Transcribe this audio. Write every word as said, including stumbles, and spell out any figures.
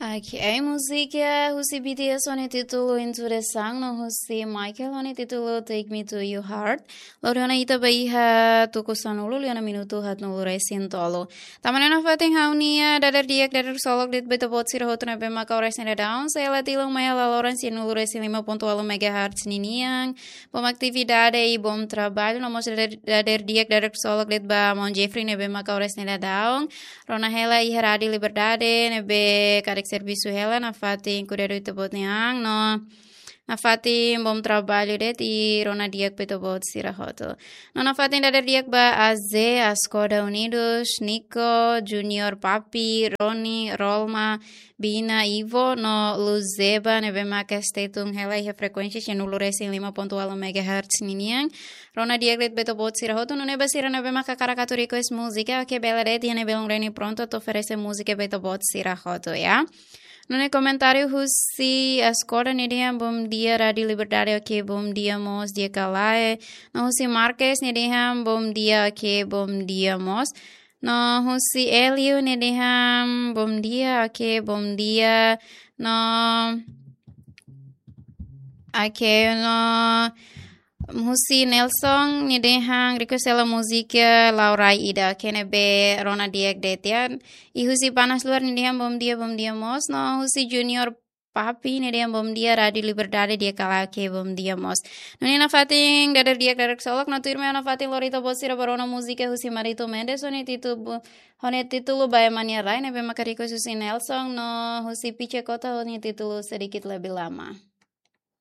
Oke, múzika husi B T S ho nia títulu Into the Sun no husi Michael ho nia títulu Take Me to Your Heart. Lori ona ita ba iha tuku sanulu liu ona minutu haatnulu resin tolu. Tama ona nafatin ha'u-nia dader di'ak dader ksolok de'it ba ita-boot sira hotu ne'ebé maka oras ne'e daudaun. Sei la tilun mai hela loron sianulu resin lima pontu ualu megahertz ninian. Bom atividade i bom trabalho. No mós dader, dader di'ak dader ksolok de'it ba maun Jeffrey ne'ebé maka oras ne'e daudaun rona hela iha Rádio Liberdade ne'ebé karik servisu hela nafatin kuidadu ita-boot nia an no nafatin bom trabalho de'it i rona di'ak ba ita-boot sira hotu. No nafatin dader di'ak ba Aze, Askoda Unidos, Nico, Junior, Papi, Roni, Rolma, Bina, Ivo no Luzeba ne'ebé maka stay tune hela iha frekuénsia sianulu resin lima pontu ualu megahertz ninian. Rona di'ak de'it ba ita-boot sira hotu, nune'e ba sira ne'ebé maka hakarak atu request múzika, oke, bele de'it, iha ne'e belun reni prontu atu oferese múzika ba ita-boot sira hotu, ya. Nune'e komentáriu husi Askoda nia dehan bom dia Rádio Liberdade, oke, bom dia mós, di'ak ka lae. No husi Marques nia dehan bom dia, oke, bom dia mós. No husi Elio nia dehan bom dia, oke, bom dia. No, oke, no husi Nelson nia dehan request hela múzika Laurai Ida, oke, ne'ebé rona di'ak de'it, ya. I husi Panas Luar nia dehan bom dia, bom dia mós. No husi Junior Papi nia dehan bom dia Rádio Liberdade, di'ak ka lae, oke, bom dia mós. Nune'e nafatin dader di'ak dader ksolok, no tuirmai nafatin lori ita-boot sira ba rona múzika husi Marito Mendes ho nia títulu, ho nia títulu Ba Ema nia Rai ne'ebé maka request husi Nelson no husi Piche Kota ho nia títulu Sedikit Lebih Lama.